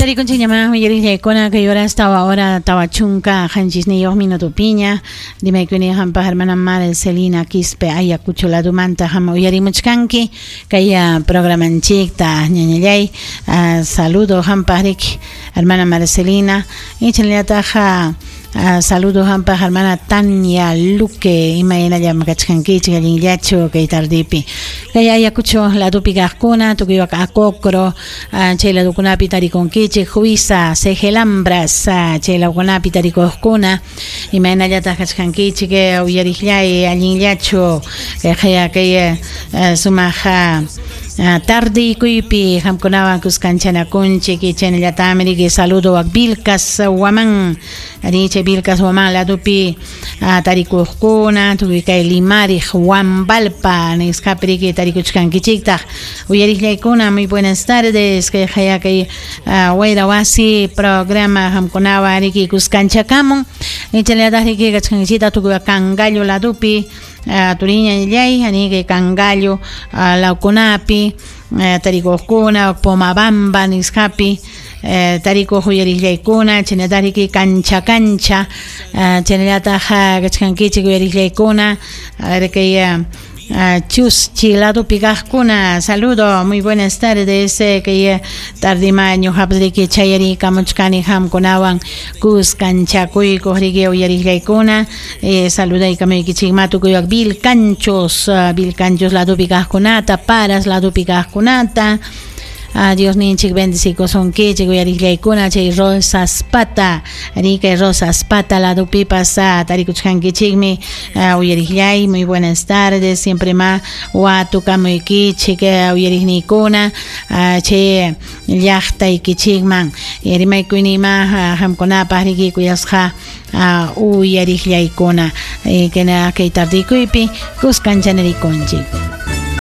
Tarikunchikñamá uyariqllaykuna kay horas tawa hora 47 minutopiña. Rimaykuni hampaq hermana Marcelina Quispe Ayacucho ladumanta ham uyarimuchkanki kay programanchikta ñañallay. Saludo hampaq riki hermana Marcelina y chaynallataq saludo hampaq hermana Tania Luque imaynallam kachkankichik allinllachu kay tardipi. Kay Ayacucho ladupi kaqkuna tukuywak Acocro chay ladukunapi tarikunkichik Huiza Cejelambras chay ladukunapi tarikuqkuna imaynallataq kachkankichik uyariqllay allinllachu kay kay sumaq tardiykuypi hamkunawan kuskanchanakunchik chaynallatami riki saludo a Vilcas Huamán ari chay Vilcas Huamán ladupi tarikuqkuna tukuy kay Limariq Huambalpa nisqapi riki tarikuchkankichiktaq uyariqllaykuna muy buenas tardes kay haya kay Wayra Wasi programa hamkunawan riki kuskanchakamun chaynallataq riki kachkankichikta tukuy Cangallo ladupi turiñallay ani kay Cangallo lawkunapi tarikuqkuna Pomabamba nisqapi tarikuq uyariqllaykuna chaynallataq riki Cancha Cancha chaynallataq kachkankichik uyariqllaykuna kay Chuschi ladupi kaqkuna saludo muy buenas tardes kay tardima ñuqapas riki chayarikamuchkani hamkunawan kuskanchakuykuq riki uyariqllaykuna saludaykamuykichikma tukuywak Vilcanchos Vilcanchos ladupi kaqkunata Paras ladupi kaqkunata Dios ninchik bendecikusunkichik uyariqllaykuna chay Rosas Pata riki Rosas Pata ladupipas tarikuchkankichikmi uyariqllay muy buenas tardes siempre ma watukamuykichik uyariqniykuna chay llaqtaykichikman rimaykuynima hamkunapaq riki kuyasqa uyariqllaykuna kay tardikuypi kuskanchanarikunchik.